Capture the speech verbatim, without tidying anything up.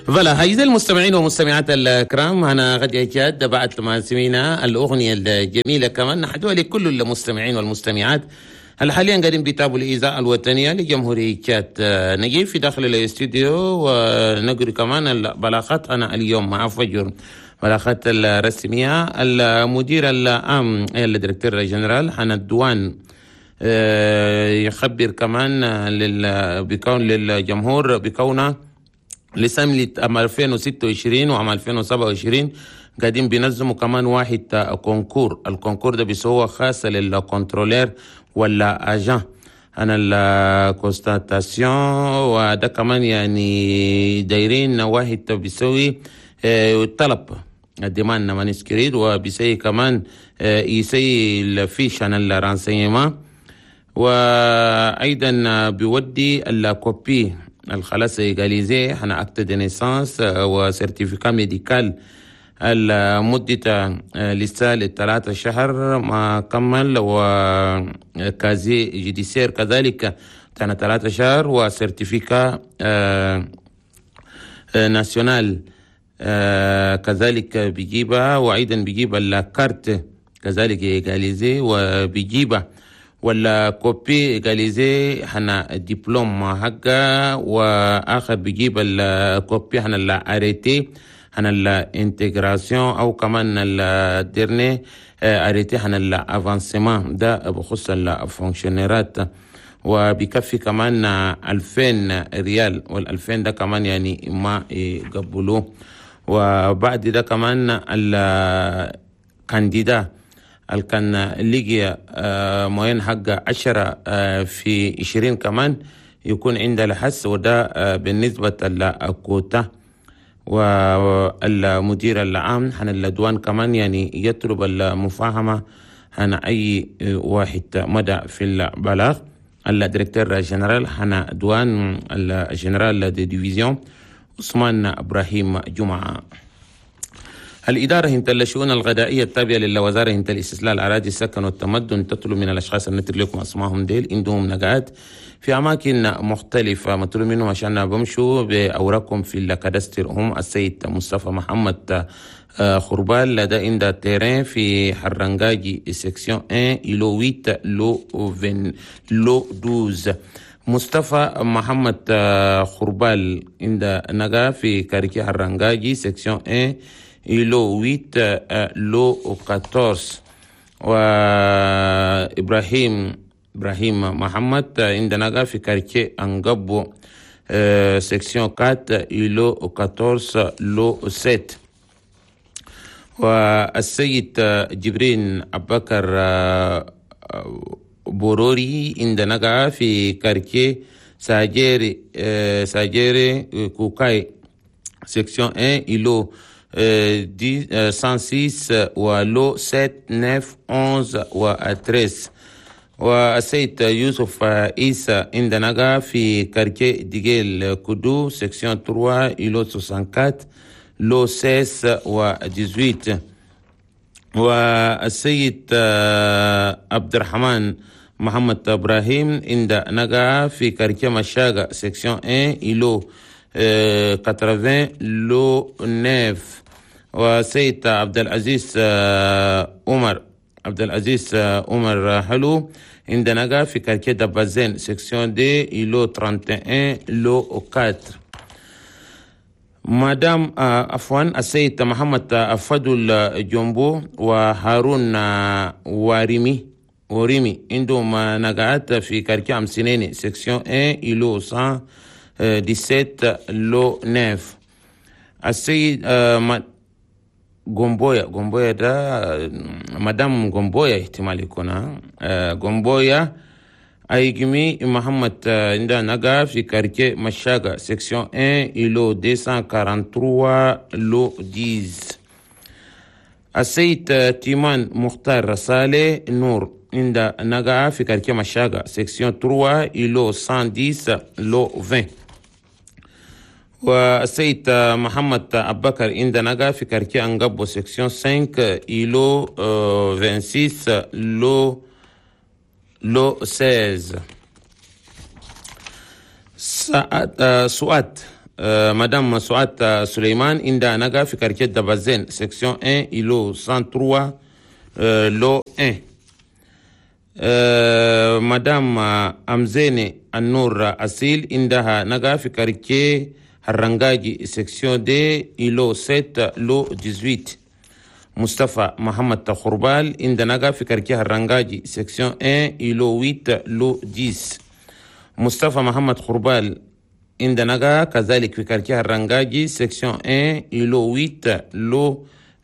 Voilà، أعزائي المستمعين والمستمعات الكرام، أنا غادي جاد بعد ما سمعنا الأغنية الجميلة كمان نحدوها لكل المستمعين والمستمعات هل حاليا قاعدين بيتابعوا الإذاعة الوطنية لجمهورية تشاد. نجي في داخل الاستوديو ونقري كمان البلاغات. أنا اليوم مع فجر بلاغات الرسمية، المدير العام ال directeur général هنا ال douane آه، يخبر كمان لل بكون للجمهور بكونه لسنة عام ألفين وستة وعشرين وعام ألفين وسبعة وعشرين قاعدين بينظموا كمان واحد concours. ال concours ده بيسوى خاصة لل contrôleur ولا agent هنا ال constatation، وده كمان يعني دايرين واحد بيسوي آه، الطلب demande manuscrite، وبيسوي كمان آه، يسوي ال fiche عن ال renseignement، وايضا بيودي ال copie الخلاص légalisée هنا acte de naissance و certificat médical المدة لسه لثلاثة شهر ما كمل، و casier judiciaire كذلك تانا ثلاثة شهر، و certificat national كذلك بيجيبها، وايضا بيجيب الكارت كذلك légalisée، وبيجيبها ولا copie légalisée هنا دبلوم حقا، واخر بيجيب ال copie هنا ال arrêté هنا ال intégration او كمان ال dernier arrêté هنا ال avancement، ده بخص ال fonctionnaire ات، وبيكفي كمان ألفين ريال، والألفين ده كمان يعني ما يقبلوه. وبعد ده كمان ال candidat اللي كان لقي moyenne حق عشرة في عشرين كمان يكون عنده الحس، وده بالنسبة للكوتا. والمدير العام هنا ال douane كمان يعني يطلب المفاهمة هنا أي واحد مدى في البلاغ. ال directeur général هنا douane، ال général de division عثمان إبراهيم جمعة. الإدارة هنت الشؤون الغذائية التابعة للوزارة هنت الاستصلاح الأراضي، السكن والتمدن تطلب من الأشخاص النتر لكم أسمائهم ديل عندهم نقعات في أماكن مختلفة، مطلوب منهم عشان بمشوا بأوراقهم في ال cadastre. هم السيد مصطفى محمد آه، خربال، لدى عند terrain في حرنجاجي section واحد îlot ثمانية lot عشرين lot اثنا عشر. مصطفى محمد آه، خربال عند نقا في quartier حرنجاجي section واحد îlot ثمانية lot أربعة عشر. وإبراهيم إبراهيم محمد عند نقا في quartier أنقبو section أربعة îlot أربعة عشر lot سبعة. والسيد جبرين أبكر بوروري عند نقا في quartier ساجيري ساجيري كوكاي section واحد îlot مية وستة و lot سبعة تسعة إحدى عشر و تلتاشر. والسيد يوسف عيسى عند نقا في quartier ديجيل كودو section ثلاثة îlot أربعة وستين lot ستة عشر و ثمانية عشر. والسيد عبد الرحمن محمد ابراهيم عند نقا في quartier مشاغا section واحد îlot ثمانين lot تسعة. وسيد عبد العزيز عمر عبد العزيز عمر حلو عند نقا في quartier دبازين section deux îlot واحد وثلاثين lot أربعة. مدام عفوا، السيد محمد فضل جنبو وهارون واريمي وريمي عندهم نقعات في quartier أمسنيني section واحد îlot مية وسبعة عشر lot تسعة. السيد غومبويا غومبويا ده مدام غومبويا، احتمال يكون غومبويا أيجمي محمد عندها نقا في quartier مشاغا section واحد îlot مئتين وثلاثة وأربعين lot عشرة. السيد تيمان مختار صالح نور عند نقا في quartier مشاغا section ثلاثة îlot مية وعشرة lot عشرين. والسيد محمد أبكر عند نقا في quartier أنقبو section خمسة îlot ستة وعشرين lot lot ستة عشر. سعد سؤاد آه مدام سعاد سليمان عندها نقا في quartier دبازين section un îlot cent trois آه lot un. آه مدام أمزيني النور أسيل عندها نقا في quartier هرنجاجي section deux îlot sept lot dix-huit. مصطفى محمد خربال عندها نقا في quartier هرنجاجي section un îlot huit lot dix. مصطفى محمد خربال عندها نقا كذلك في quartier هرنجاجي section un îlot huit lot